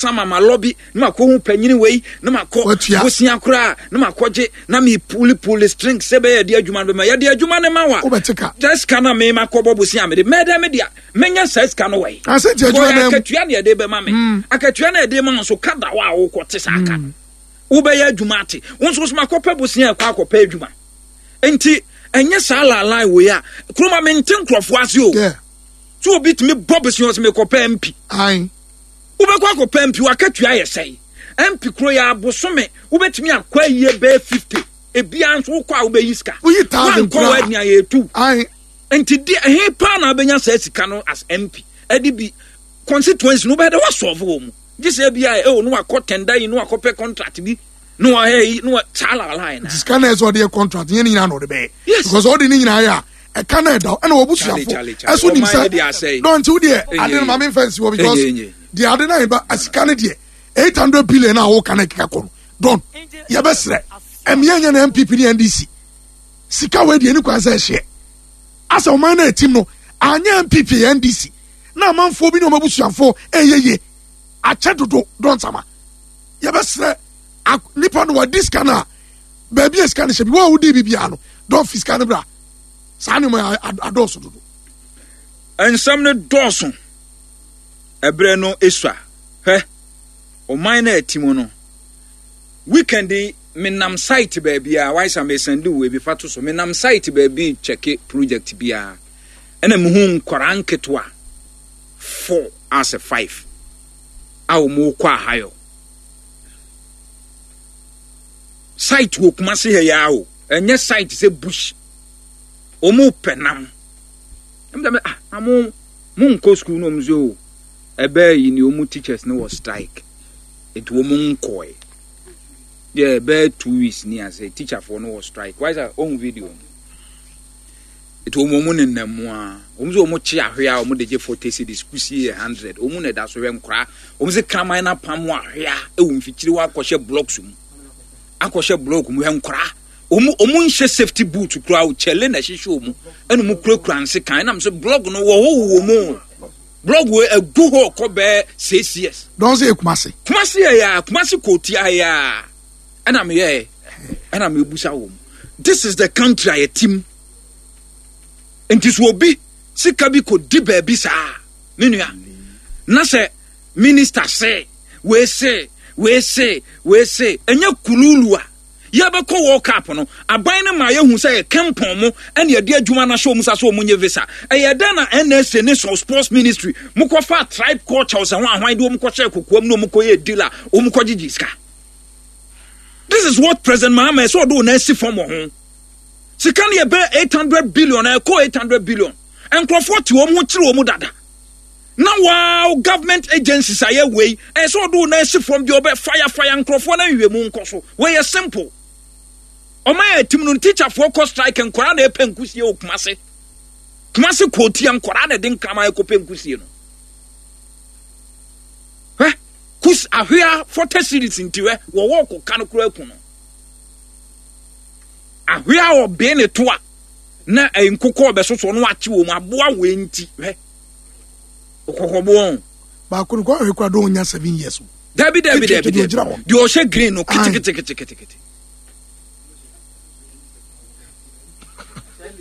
Sama ma lɔbi na makɔ hu panyini wei na makɔ bosia koraa na makɔ gye na mi puli puli string sɛ bɛyɛ de adwuma no bɛma yɛde adwuma no ma wa sɛ sika na me makɔ bɔ bosia mede mɛdɛ me dea mɛnya saa sika no wɔ yi akatua na yɛde bɛma me hmm. akatua na yɛde ma nso ka da hɔ a wokɔ te saa ka hmm. wobɛyɛ adwuma ate wo nso so makɔpɛ bosia ɛkɔ akɔpɛ adwuma nti ɛnyɛ saa laalae wei a kuroma mente nkurɔfoɔ ase o so obi tumi bɔ bosia ɔsɛ mekɔpɛ mpi Wobɛkɔ akɔpɛ MP, w'akatua yɛ sɛn? MP kuro yɛ abosome, wobɛtumi akɔ ayie bɛyɛ 50. Ebia nso wokɔ a wobɛyi sika. Woyi thousand koraa. Wankɔ w'ani ayɛ etu. Nti di ɛhe paa na wobɛnya saa sika no as MP? Ɛde bi constituency no wobɛyɛ dɛ wasɔlve wɔ mu. Gye sɛ ebia ɛwɔ no wakɔ tender yi no wakɔpɛ contract bi na wahɛ yi na wa saa lalai na. Sika na ɛsɛ ɔde yɛ contract nyɛ ne nyinaa na ɔde bɛyɛ. Yes. Because ɔde ne nyinaa yɛ a ɛka na ɛda ɛna wɔbusuafo ɛso nim sɛ dɔn nti wodeɛ ade no maame nfa nsi hɔ because deɛ ade no ayɛ sika no deɛ 800 billion a wɔka no ɛkeka kɔ no dɔn yɛbɛsrɛ ɛmeɛ nyɛ na npp ne ndc sika wei deɛ ne kwan sɛ ɛhyeɛ asɛ ɔman no ɛtim no anyɛ npp yɛ ndc na amanfoɔ bi ne wɔn abusuafoɔ ɛyɛ yie akyɛ dodo dɔn sama yɛbɛsrɛ nipa no wadi sika no a baabi a sika no hyɛ bi wɔn a wodi bi biara no dɔn fi sika no bra saa nneɛma adɔɔso dodo. Nsɛm no dɔɔso ɛberɛ no esua hwɛ ɔman no a ɛte mu no weekend yi menam site baabi a wayɛ sɛ mesɛnde wo ebi fa to so menam site baabi kyɛke project biara ɛna mehu nkwaraa nketewa four asɛ five a wɔn kɔ ahayɔ site wɔ Kumasi ha yi ara o ɛnyɛ site sɛ bush wɔn pɛ nam ɛmu dɛ ah na mo mo nkɔ sukuu na wɔn sɛ o ɛbɛɛ yi ni wɔn teachers no wɔ strike nti wɔn nkɔɛ deɛ ɛbɛɛ 2 weeks ni ase teacherfoɔ no wɔ strike why sɛ ohun video no nti wɔn wɔn nenam mu a wɔn sɛ wɔn kye ahwea a wɔn de gye 40 cedis kusie yɛ 100 wɔn na ɛda so hwɛ nkora wɔn sɛ kraman na apam ahwea ɛwɔ mfikyiri hɔ akɔhyɛ blocks mu akɔhyɛ block mu hwɛ nkora. Wɔn wɔn nhyɛ safety boot koraa o kyɛle na ɛhyehyɛ wɔn ɛna wɔn kurakura nsekan ɛnam sɛ blog no wɔ hɔ wɔ mu blog wɔ egu hɔ kɔ bɛɛ 6 years. Dɔn sɛ yɛ Kumasi. Kumasi yɛ ya Kumasi kootia yɛ ya ɛna mi yɛ ɛna mi ebusa wɔn this is the country a yɛ tim nti so obi sika bi kɔ di baabi saa me nua na sɛ minister se wei se wei se wei se ɛnyɛ kululu a. Yɛbɛkɔ World Cup no, aban no maa yɛhu sɛ ɛyɛ Kempɔn mo na yɛde adwuma no ahyɛ wɔn nsa sɛ wɔnyɛ visa. Ɛyɛ dɛn na NSA ne Sports Ministry mokɔfaa tribe culture sɛ ho ahwan de wɔn kɔhyɛɛ kokoam na wɔn kɔyɛɛ deal a wɔn kɔgyegye sika? This is what President Mahama ɛsɛ ɔde wɔn asi fam wɔ ho. Sika no yɛ bɛyɛ 800 billion, ɛkɔ 800 billion. Nkurɔfoɔ te wɔn ho kyerɛ wɔn dada. Na wow government agencies ayɛ wei ɛyɛ sɛ ɔde wo nan si fam deɛ ɔbɛ fire fire nkurɔfoɔ na nhwɛmu nkɔ so wei yɛ simple ɔma yɛ tim no teacherfoɔ kɔ strike nkwaraa na ɛpɛ nkusie wɔ Kumase Kumase kootia nkwaraa na ɛde nkraman ɛkɔpɛ nkusie no hwɛ kus ahwea 40 series nti hwɛ wɔwɔ kɔka no koraa ku no ahwea ɔbee ne to a na nkokɔ ɔbɛsoso no akye wɔ mu aboa wei nti hwɛ ɔkɔkɔboɔ. Baako no kɔ ahwɛ kura don nya 7 years o. Dabi dabi dabi dabi deɛ ɔhyɛ green no keteketeketekete.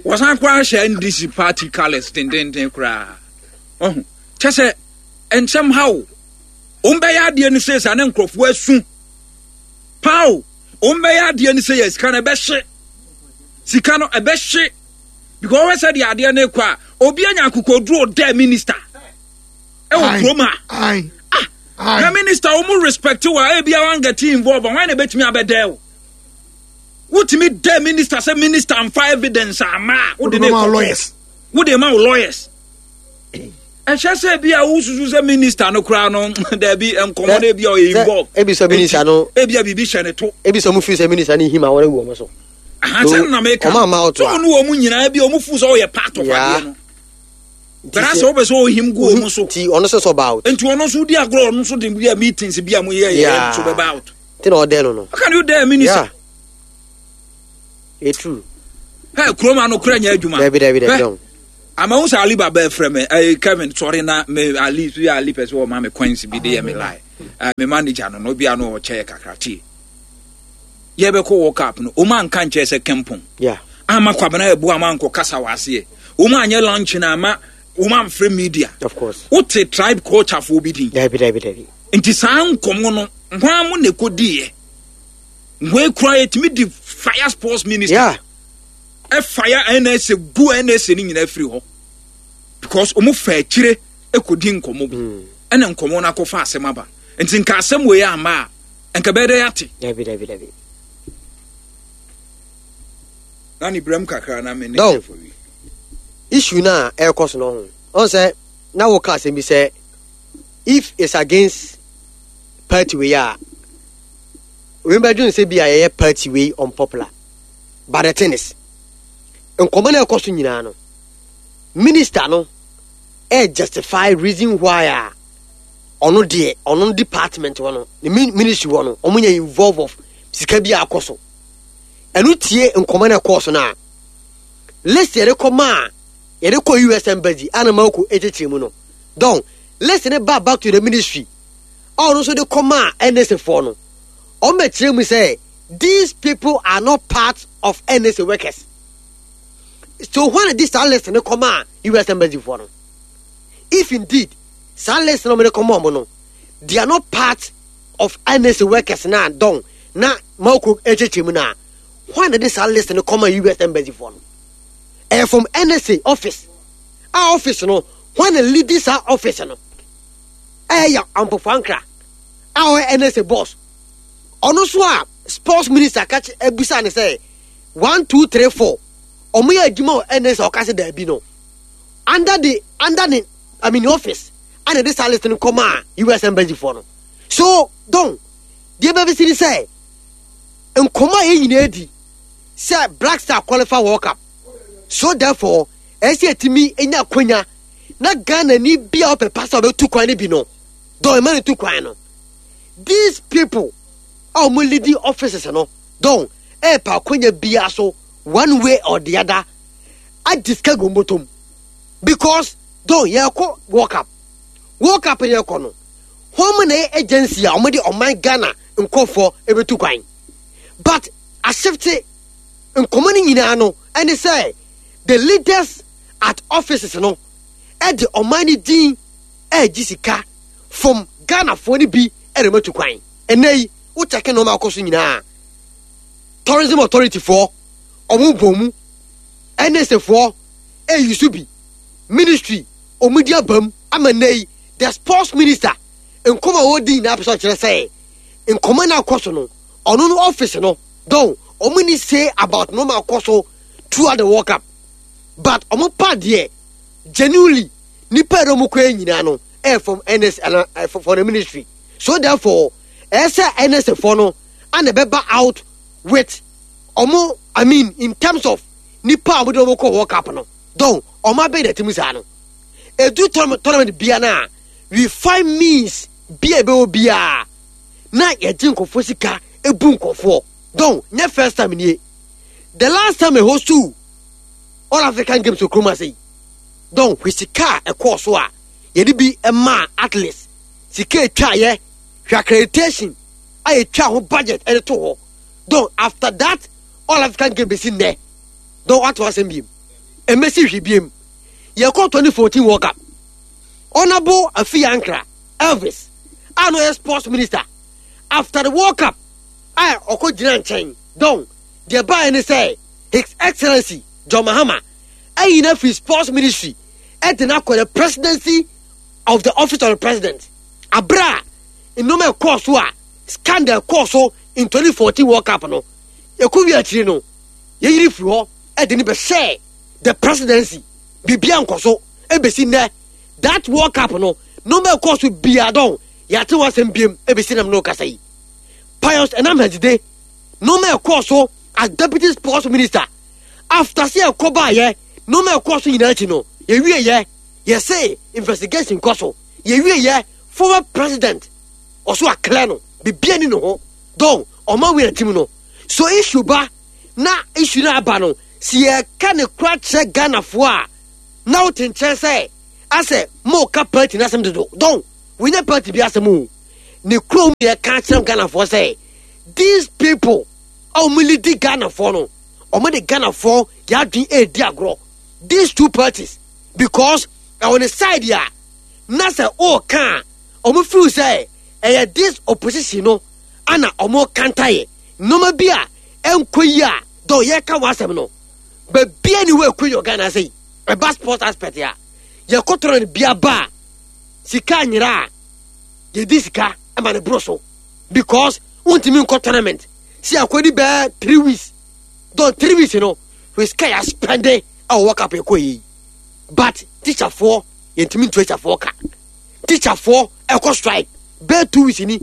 Wɔsan koraa hyɛ NDC party colours dendenden koraa. Ɔho kyɛ sɛ nsɛm ha o. Wɔn bɛyɛ adeɛ no sɛ saa ne nkurɔfoɔ asu. Paa o. Wɔn bɛyɛ adeɛ no sɛ yɛ sika no ɛbɛhye. Sika no ɛbɛhye. Because wɔhwɛ sɛ deɛ adeɛ no kɔ a obi anya akokoduro dɛ minister ɛwɔ kurom a ah na minister wɔn respect wa ebi a wɔn get involved wɔn na ebetumi abɛdɛ o wotumi dɛ minister sɛ minister nfa evidence ama a wode ne kɔ wode ma wo lawyers ɛhyɛ sɛ bi a wosusu sɛ minister no koraa no daabi nkɔmmɔ no ebi a ɔyɛ involved ebi sɛ minister no ebi a biribi hyɛ ne to ebi sɛ ɔmo firi sɛ minister no him a wɔn awu wɔn so. Ahansa na meka. Ɔmo ama ɔto a. Sɛ ɔno wɔn nyinaa bi ɔmo fu sɛ ɔyɛ part of adeɛ no. Bɛrɛ sɛ wopɛ sɛ ɔhim gu wɔn so. Nti ɔno nso sɛ ɔba out. Nti ɔno nso di agorɔ ɔno nso de bi a meetings bi a mo yɛ yɛ nso bɛba out. Nti na ɔdɛ no no. How can you dare minister? Yeah. It's true. Hey, kurom ano kura nyɛ adwuma. Dabi dabi dabi. Ama wo sɛ Ali Baba frɛ me. Hey, Kevin, sorry na me Ali so yɛ Ali pɛ sɛ ɔma me coins bi de yɛ me lie. Me manager no no bia no ɔkyɛ yɛ kakra tie. Yɛbɛkɔ World Cup no, ɔmo anka nkyerɛ sɛ kɛmpɔn. Yeah. Ama Kwabena Abu ama ankɔ kasa wɔ aseɛ. Ɔmo anyɛ lunch na ama ɔmo amfrɛ media. Of course. Wote tribe culture foɔ bi din. Dabi dabi dabi. Nti saa nkɔmɔ no, hwan mo na ɛkɔdiiɛ? Wei koraa yɛtumi di fire sports minister. Yeah. Ɛfire NSA gu NSA no nyinaa firi hɔ. Because ɔmo fa akyire ɛkɔdi nkɔmɔ bi. Ɛna nkɔmɔ no akɔfa asɛm aba. Nti nka asɛm wei amma a, nka bɛyɛ dɛ yɛate. Dabi dabi dabi. Na ne brɛm kakra na me ne Dɔn. for wi. Issue no a ɛrekɔ so no ho. Ɔn sɛ na woka asɛm bi sɛ if it's against party wei a wei bɛdwene sɛ bi a yɛyɛ party wei unpopular. But the thing is, nkɔmɔ no a ɛkɔ so nyinaa no, minister no ɛ justify reason why a ɔno deɛ ɔno department hɔ no ne ministry hɔ no ɔmo nyɛ involve of sika bi a akɔ so. Ɛno tie nkɔmɔ no ɛkɔɔ so no a list yɛde kɔ maa yɛde kɔ US embassy a na Mako ekyekyere mu no dɔn list ne ba back to the ministry a ɔno nso de kɔ maa NSA foɔ no ɔmo bɛkyerɛ mu sɛ these people are not part of NSA workers. So when this list ne kɔ maa US embassy foɔ no, if indeed saa list no ɔmo de kɔ maa ɔmo no they are not part of NSA workers na dɔn na Mako ekyekyere mu na when did this list ne kɔ maa US embassy foɔ no, ɛyɛ from NSA office a office no when the lead saa office no ɛyɛ Ampofo Ankra a ɔyɛ NSA boss ɔno so a sports minister ka ebisa ne sɛ 1 2 3 4 ɔmo yɛ adwuma wɔ NSA ɔka sɛ daabi no under the under the I mean office ana de saa list no kɔma a US embassy foɔ no. So don deɛ bɛbisi ne sɛ nkɔmɔ a yɛn nyinaa di sɛ Black Star qualify World Cup, so therefore ɛsɛ yɛtumi nya akonya na Ghana ni bi a ɔpɛ pa sɛ ɔbɛtu kwan no bi no don ɛma no tu kwan no. These people a wɔn leading offices no don ɛɛpɛ akonya biara so one way or the other adi sika gu wɔn bɔtɔm because don yɛkɔ World Cup, World Cup yɛkɔ no wɔn na yɛ agency a wɔn de ɔman Ghana nkɔfoɔ ɛbɛtu kwan, but ahyefte nkɔmɔ no nyinaa no ɛne sɛ the leaders at offices no ɛde ɔman no din ɛregye sika from Ghanafoɔ no bi ɛna wɔatu kwan. Ɛnɛ yi wokyɛke nneɛma akɔ so nyinaa, tourism authority foɔ ɔmo bɔ mu, NSA foɔ ɛyi so bi, ministry ɔmo di abam ama nnɛ yi the sports minister nkɔmɔ a wɔdi nyinaa pɛ sɛ ɔkyerɛ sɛ nkɔmɔ no akɔ so no ɔno no office no don ɔmo ni say about nneɛma akɔ so throughout the World Cup, but ɔmo pa deɛ genuinely nipa yɛrɛ ɔmo kɔ yɛ nyinaa no ɛyɛ from NS ana for the ministry, so therefore ɛyɛ sɛ NSA foɔ no ana ɛbɛba out with ɔmo, I mean in terms of nipa a ɔmo de ɔmo kɔ World Cup no don ɔmo abɛn na ti mu saa no edu tournament bia na we find means bia ebe obia na yɛgye nkɔfoɔ sika ebu nkɔfoɔ don nyɛ first time nie. The last time ɛhɔ so All African Games wɔ kurom ase yi don hwɛ sika a ɛkɔɔ so a yɛde bi maa athletes, sika etwa yɛ hwɛ accreditation a yɛtwa ho budget ɛde to hɔ don after that All African Games bɛsi nnɛ don wato asɛm biem ɛmɛsi hwɛ biem. Yɛkɔ 2014 World Cup, Honorable Afi Ankra Elvis a no yɛ sports minister after the World Cup a ɔkɔ gyina nkyɛn don deɛ baeɛ ne sɛ His Excellency John Mahama ayi no afiri sports ministry ɛde no akɔ the presidency of the office of the president abere a nneɛma ɛkɔɔ so a scandal ɛkɔɔ so in 2014 World Cup no yɛkɔ wi akyiri no yɛyiri firi hɔ ɛde no bɛhyɛ the presidency biribiara nkɔ so ɛbɛsi nnɛ that World Cup no nneɛma ɛkɔɔ so biara dɔn yɛate ho asɛm biem ɛbɛsi nam no kasa yi. Pius Enam Hadzide nneɛma ɛkɔɔ so as deputy sports minister after sɛ ɛkɔ baayɛ nneɛma ɛkɔɔ so nyinaa akyi no yɛwie yɛ yɛse investigation kɔ so yɛwie yɛ former president ɔso aklɛ no bibia ni ne ho dɔn ɔma wei atim no so issue ba na issue no aba no si yɛka ne kora kyerɛ Ghanafoɔ a na wote nkyɛn sɛ asɛ moka party no asɛm dodo dɔn wɔnyɛ party bi asɛm o. Ne kurom yɛ ka kyerɛ Ghanafoɔ sɛ these people a wɔn leadi Ghanafoɔ no, wɔn de Ghanafoɔ yɛadwene ɛredi agorɔ. These two parties because ɛwɔ ne side a na sɛ ɔreka a wɔn feel sɛ ɛyɛ this opposition no ana wɔn kanta yɛ nneɛma bi a ɛnkɔ yi a dɔn yɛka wɔn asɛm no baabi a ni wɔ ɛkɔ yi wɔ Ghana sɛ yi ɛba sports aspect a yɛkɔtɔrɔ no bi aba a sika anyera a yɛdi sika ma no boro so because wontumi nkɔ tournament si akɔdi bɛɛ 3 weeks dɔn 3 weeks no hwɛ sika yɛ aspɛnde ɛwɔ World Cup ɛkɔ yi. But teacherfoɔ, yɛntumi ntua teacherfoɔ ka. Teacherfoɔ ɛkɔ strike bɛɛ 2 weeks ni.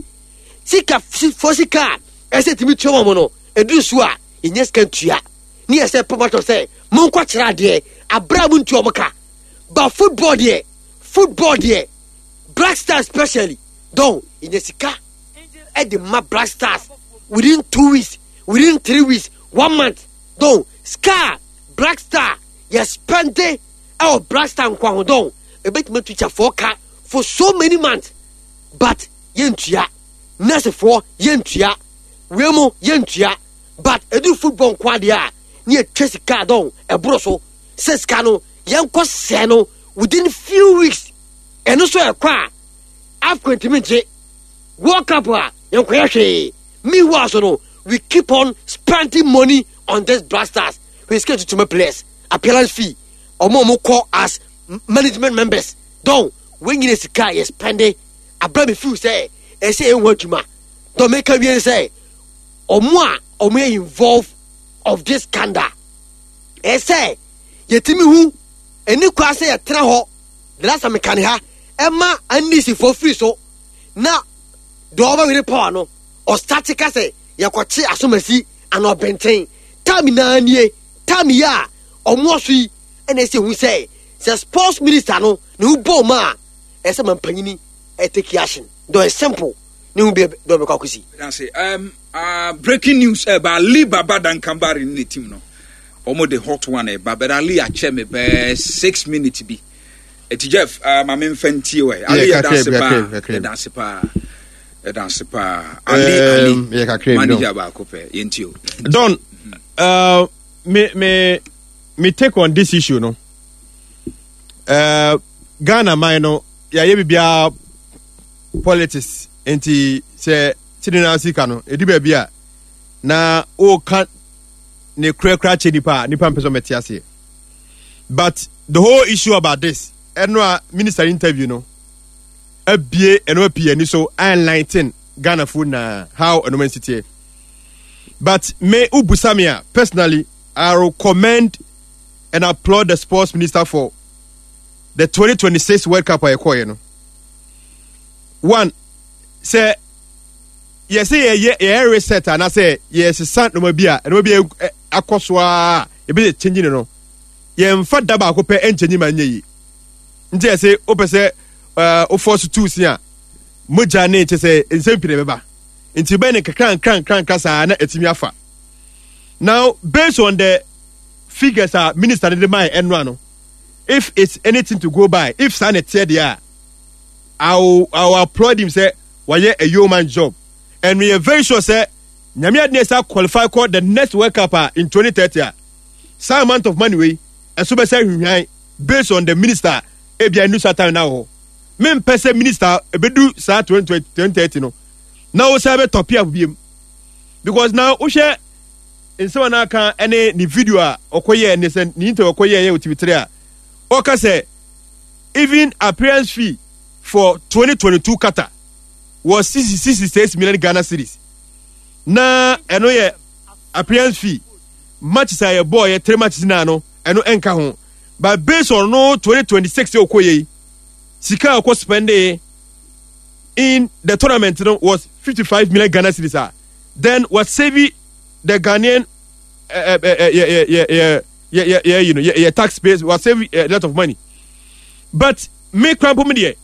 Sika foɔ sika a ɛsɛ tumi tua wɔn no ɛduru so a yɛnyɛ sika ntua ne yɛ sɛ pɔpɔtɔ sɛ monkɔ kyerɛ adeɛ abere a montua wɔn ka. But football deɛ, football deɛ, Black Stars especially don yɛnya sika ɛde ma Black Stars within 2 weeks, within 3 weeks, one month. Don sika Black Star yɛ spende ɛwɔ Black Star nkwa ho don ebetumi teacherfoɔ ka for so many months, but yɛntua nursefoɔ, yɛntua wei mu, yɛntua. But edu football nko adeɛ a ne yɛtwa sika don ɛboro so sɛ sika no yɛnkɔ sɛ no within few weeks. Ɛno nso ɛkɔ a AFCON ntumi ngye, World Cup a yɛnkɔyɛ hwee. Meanwhile so no we keep on spending money on this Black Stars. We sika tutuma players appearance fee, ɔmo a ɔmo kɔ as management members don wɔn nyina sika a yɛ spending abira mi feel sɛ ɛsɛ ɛho adwuma don meka wie sɛ ɔmo a ɔmo yɛ involved of this scandal, ɛsɛ yɛtumi hu ɛni kwa sɛ yɛtena hɔ. The last time meka ne ha ɛma NDC fo firi so na deɛ ɔbɛwere power no ɔstarte ka sɛ yɛkɔkye asomasi ana ɔbɛnten time naa nie time yi a ɔmo ɔso yi ɛna ɛsɛ hu sɛ sports minister no ne ho bɔɔ mu a ɛsɛ ma mpanyini ɛtake action dɔ. Simple ne ho bi dɔ bɛkɔ akɔsi. That's it. Breaking news ɛba Ali Baba Dankambari ne team no. Wɔn de hot one ɛba, but Ali akyɛ me bɛɛ 6 minutes bi. Eti Jeff, maame nfa ntie wɛ. Ali, yɛ danse paa, yɛ danse paa, yɛ danse paa. Ali, Ali, yɛ kakra bi. Manager baako pɛ, yɛn ti o. Don, me take on this issue no. Ghana man no, yɛayɛ biribiara politics nti sɛ kyini na sika no ɛdi baabi a na woka ne korakora kyɛ nipa a nipa mpɛ sɛ ɔmɛte aseɛ. But the whole issue about this ɛno a minister interview no abie ɛno apii ani so enlighten Ghana foɔ na how ɛno ma nsiteɛ. But me wobusa me a, personally I recommend and applaud the sports minister for the 2026 World Cup a yɛkɔɔyɛ no. One, sɛ yɛsɛ yɛyɛ reset anaasɛ yɛsesa nneɛma bi a nneɛma bi akɔ so a ebi yɛ change no, yɛmfa da baako pɛ nkyɛnyi ma nyɛ yi. Nti yɛsɛ wopɛ sɛ wofɔ so tu si a mogya ne kyɛ sɛ nsɛm pii na ɛbɛba nti bɛyɛ ne nkakra nkra nkra nkra saa na ɛtumi afa. Now, based on the figures a minister no de maa ɛnoa no, if it's anything to go by, if saa na ɛteɛ deɛ a, I will applaud him sɛ wayɛ a yeoman job, and we are very sure sɛ Nyame adi ne sa qualify kɔ the next World Cup a in 2030 a saa amount of money wei ɛso bɛsɛ hwehwan based on the minister ebia enu saa time na wɔ hɔ. Mempɛ sɛ minister ebedu saa 2030 no na wo sɛ bɛ top up biem because now wohwɛ nsɛm a n'aka ɛne ne video a ɔkɔyɛ ne sɛ ne interview ɔkɔyɛ yɛ wɔ TV3 a ɔka sɛ even appearance fee for 2022 Qatar was 66 million Ghana cedis na ɛno yɛ appearance fee. Matches a yɛbɔɔ yɛ three matches naa no ɛno ɛnka ho. But based on no 2026 yɛ ɔkɔ yɛ yi sika a ɔkɔ spend in the tournament no was 55 million Ghana cedis a then was save the Ghanaian yɛ you know yɛ taxpayers was save a lot of money. But me krampo me deɛ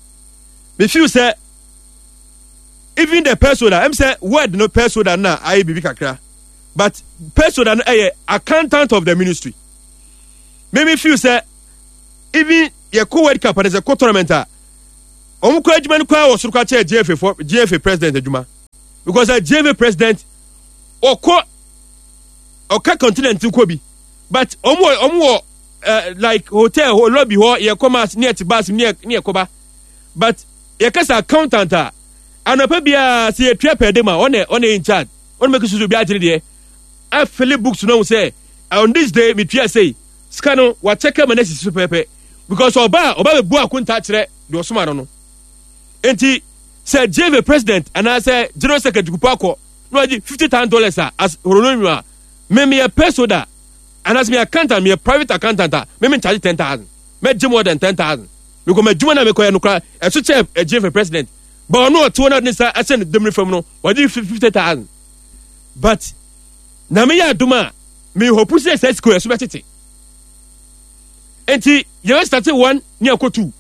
me feel sɛ even the person a ɛm sɛ word no person na ayɛ biribi kakra, but person no ɛyɛ accountant of the ministry. Me feel sɛ even yɛ kɔ World Cup and sɛ kɔ tournament a Wɔn kɔ adwuma no koraa wɔ soro koraa kyɛn GFA fo GFA president adwuma because a GFA president ɔkɔ ɔka continent kɔ bi but wɔn wɔ wɔn wɔ uh, like hotel hɔ lobby hɔ yɛ kɔ mass ne yɛ te bus ne yɛ ne yɛ kɔba but yɛ kasa accountant a anɔpɛ biara sɛ yɛ tua pɛɛ de ma ɔna ɔna in charge ɔna mɛka susu bi agyere deɛ afili books no sɛ on this day metua sei sika no wakyɛkɛ ma no asisi so pɛpɛ because ɔba a ɔba bɛbu akonta kyerɛ deɛ ɔsoma no no nti sɛ jv president anaasɛ general secretary kupo akɔ na wagye $50,000 a as honorarium a me meyɛ peso da anaasɛ meyɛ accountant, meyɛ private accountant a me me charge 10,000, mɛgye more than 10,000 because m'adwuma na mekɔyɛ no koraa ɛso kyɛ jv president, but ɔno ɔte hɔ na ɔde ne nsa ahyɛ ne demire fam no wagye 50,000. But na meyɛ adom a me hope sɛ saa sika ɛso bɛtete nti yɛbɛ start one ne akɔ two.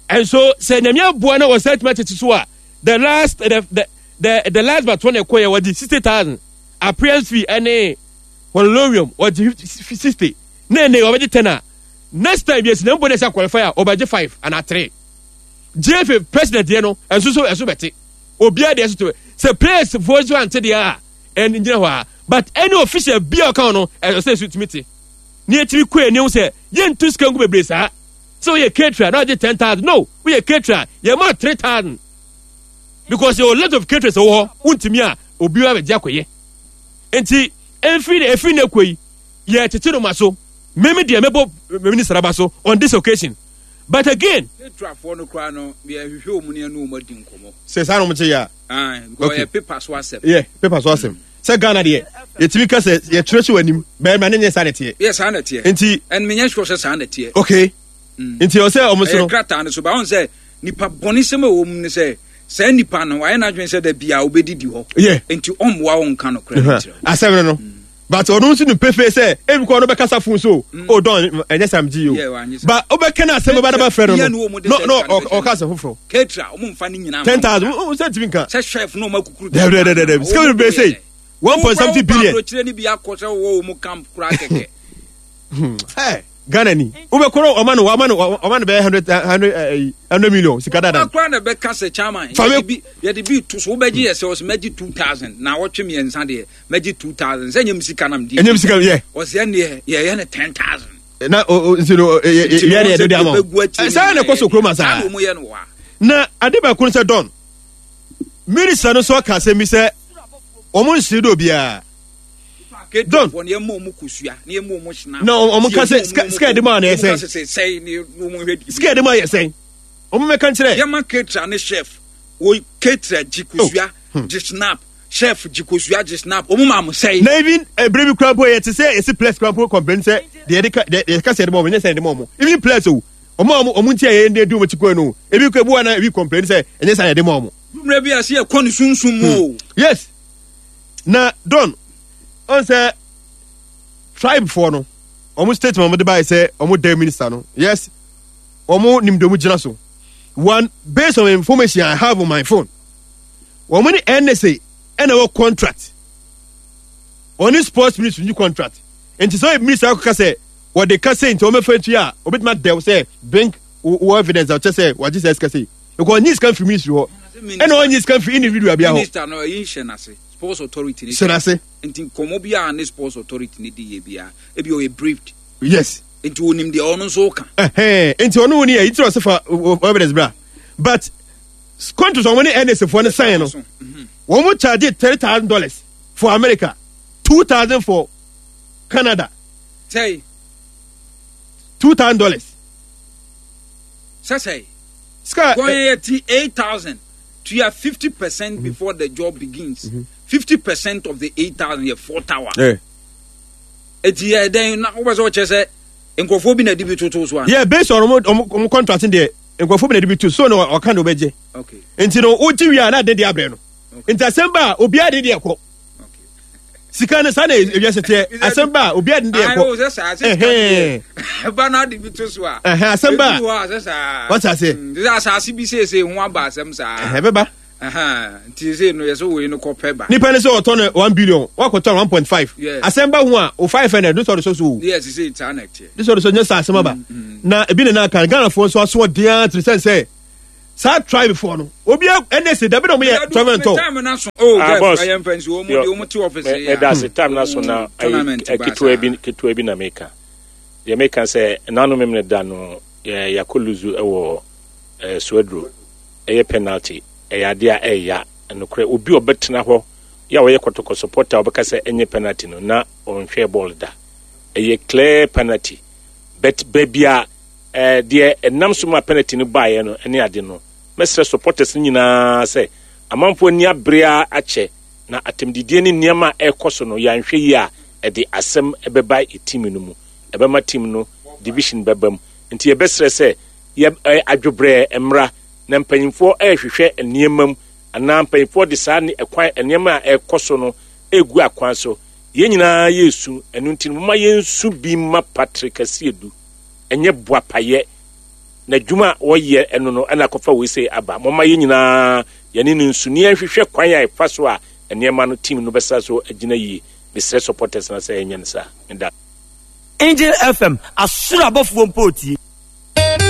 And so sɛ nyame aboa na wɔsan tumi atete so a the last the last but one ɛkɔ yɛ wɔgye 60,000 appearance fee ɛne honorarium wɔgye 60 na ɛnɛ wɔbɛgye 10 a next time yɛsi na mbɔ na ɛsɛ qualify a wɔbɛgye 5 ana 3. GFA president yɛ no ɛnso so ɛso bɛte obiara deɛ ɛso te sɛ players foɔ nso ante deɛ a ɛn gyina hɔ a but any official bi a ɔka ho no ɛsɛ sɛ ɛso tumi te ne yɛtumi kɔ anim sɛ yɛntu sika ngu bebree saa sɛ woyɛ caterer na wagye 10,000 no woyɛ caterer yɛma 3,000 because yɛwɔ lot of caterers wɔ hɔ wontumi a obi abɛgye akɔyɛ nti ɛmfiri ɛfiri ne kɔ yi yɛtete no ma so meme deɛ mɛbɔ minister aba so on this occasion but again catererfoɔ no koraa no yɛhwehwɛ wɔn ne ɛne wɔn adi nkɔmmɔ sɛ saa na wɔn te yɛ a okay paper so asɛm yeah paper so asɛm sɛ Ghana deɛ yɛtumi ka sɛ yɛtwerɛ hyɛ w'anim bɛrima ne nyɛ saa na ɛteɛ. Yɛ saa na ɛteɛ. Nti ɛn menyɛ sure sɛ saa na ɛteɛ. Okay. Nti ɔsɛ ɔmo so no. Ɛyɛ krataa no so ba ɔn sɛ nipa bɔne sɛm a ɛwɔ mu ne sɛ saa nipa no wayɛ n'adwene sɛ da bia ɔbɛdidi hɔ. Yeah. Nti ɔmmoa wo nka nokorɛ no nkyerɛ wo. Asɛm no no. But ɔno nso nim pefee sɛ ebi kɔ ɔno bɛkasa fon so o dɔn ɛnyɛ sam gyi o. Ba wobɛka no asɛm bɛba na bɛfrɛ no no no no ɔka asɛm foforɔ. Ketra ɔmo nfa ne nyinaa. 10,000 o sɛ ntumi nka. Sɛ chef na ɔmo akukuru. Dɛbi dɛbi dɛbi sika bebree sei 1.70 billion. Wokɔ aburokyire ni bi akɔ sɛ wɔwɔ wɔn camp koraa kɛkɛ. Hey, Ghana ni wobɛkɔ no ɔma no ɔma no ɔma no bɛyɛ hundred hundred ɛyi hundred million sika dada. Ɔma na bɛka sɛ chairman yɛde bi yɛde bi to so wobɛgye yɛ sɛ ɔsɛ mɛgye 2,000 na wɔtwe mmiɛnsa deɛ mɛgye 2,000 sɛ nyɛ sika nam di. Ɛnyɛ sika yɛ. Ɔsɛ ɛneɛ yɛyɛ no 10,000. Na o nti no yɛ yɛ de de ama wo. Saa na ɛkɔ so kurom asa. Na ade baako no sɛ dɔn minister no nso aka asɛm bi sɛ wɔn nsiri dɛ obiara. Don. Na wɔn ka sɛ sika yɛde maa no yɛ sɛn. Sika yɛde maa yɛ sɛn. Wɔn mɛka nkyerɛ. Yɛma ketra ne chef wo ketra gye kosua gye snap chef gye kosua gye snap wɔn maa mo sɛn. Na even ebere bi kura mpo yɛ te sɛ esi players kura mpo complain sɛ deɛ yɛde ka deɛ yɛka sɛ yɛde ma wɔn nyɛ sɛ yɛde ma wɔn even players o wɔn a wɔn nti a yɛn de di wɔn akyi kɔɛ no ebi kura ebi wɔ na ebi complain sɛ ɛnyɛ sɛ yɛde ma wɔn. Mmerɛ bi a sɛ yɛkɔ ne sunsum mu o. Yes. Na Don, ɔn sɛ tribe foɔ no, wɔn statement wɔn de baayɛ sɛ wɔn dɛ minister no, yes, wɔn nim deɛ wɔn gyina so. One, based on information I have on my phone, wɔn ne NSA ɛna ɛwɔ contract, wɔn ne sports ministry ni contract. Nti sɛ ɔyɛ minister akɔka sɛ wɔde ka sɛ nti wɔn bɛfɛ ntua a, obetumi adɛw sɛ bring wɔ evidence a ɔkyɛ sɛ wɔagye sɛ sika sei. Because ɔnyi sika mfiri ministry hɔ, ɛna ɔnyi sika mfiri individual bi hɔ. Minister no ɛyi nhyɛ n'ase, sports authority ni hyɛ n'ase. Nti nkɔmɔ bi a ne sports authority ni di yɛ bia, ebi ɔyɛ briefed. Yes. Nti onim deɛ ɔno nso ka. Ɛhɛn, nti ɔno wo ni yɛ, nti ɔsɛ fa evidence bra. But contract wɔn ne NSA foɔ no sign no, wɔn charge $3,000 for America, 2,000 for Canada. Sɛyi. $2,000. Sɛ sɛyi. Sika. Wɔn yɛ ti 8,000. Tua 50% before the job begins. 50% of the 8,000 yɛ 4 tower. Eti yɛ dɛn na wobɛ sɛ ɔkyɛ sɛ nkurɔfoɔ bi na ɛde bi toto so ana? Yeah, based on ɔmo contract deɛ nkurɔfoɔ bi na ɛde bi to so na ɔka na ɔbɛgye. Okay. Nti no wogye wie a na ade deɛ abrɛ no. Nti asɛm ba a obiara de deɛ kɔ. Sika no saa na ewiase teɛ asɛm ba a obiara de deɛ kɔ. Ayi sɛ saa sɛ sika deɛ ba na ade bi to so a. Ɛhɛn asɛm ba a. Wate aseɛ. Sɛ asase bi seesei ho aba asɛm saa. Ɛhɛn bɛba. Nti seesei no yɛ sɛ wei no kɔ pɛ ba. Nipa ne sɛ ɔtɔ no 1 billion wakɔtɔ no 1.5. Asɛm ba ho a o 500 no sɛ ɔde sɔ so o. Yes, seesei saa na ɛteɛ. De sɛ ɔde sɔ nyɛ saa asɛm aba. Na ebi ne na aka Ghanafoɔ nso aso ɔden ara tiri sɛn sɛ. Saa tribe foɔ no obi ɛnɛ sɛ dabi na ɔmo yɛ tournament tɔ. Time na so oh ah, Jeff boss. ɛyɛ mfɛn si wɔn de wɔn ti office Me yi meda ase time na so na tournament ayi ba ketewa saa. bi ketewa bi na meka. Deɛ meka sɛ nanu memene da no yɛ yakɔ luzu ɛwɔ eh, Suaduro ɛyɛ penalty ɛyɛ adeɛ a ɛya nokorɛ obi a ɔbɛtena hɔ yɛ a ɔyɛ kɔtɔkɔ supporter a ɔbɛka sɛ ɛnyɛ penalty no na ɔnhwɛɛ bɔɔl da ɛyɛ clear penalty but baabi a Eh, deɛ ɛnam so ma penalty no baeɛ no ne ade no, mɛsrɛ supporters no nyinaa sɛ, amanfoɔ ani abere ara akyɛ, na atɛmdidie ne nneɛma a ɛrekɔ so no, yɛanhwɛ yie a, ɛde asɛm bɛba yɛ team no mu. Ɛbɛma team no division bɛba mu. Nti yɛbɛsrɛ sɛ, yɛ, eh, adwobrɛɛ mmra, na mpanyinfoɔ rehwehwɛ nneɛma mu, anaa mpanyinfoɔ de saa ne, ɛkwan, nneɛma a ɛrekɔ so no regu akwan so. Yɛn nyinaa yɛresu, ɛno nti no, momma yɛnsu bi mma Patrick Asiedu. Ɛnyɛ boapayɛ. N'adwuma a ɔyɛ ɛno no ɛna akɔfa wei sei aba. Momma yɛn nyinaa yɛne no nsu na yɛnhwehwɛ kwan a ɛfa so a nneɛma no team no bɛsa so agyina yie. Mesrɛ supporters no sɛ yɛnyɛ no saa. Meda. Angel FM, asoro abɔfoɔ mpo retie.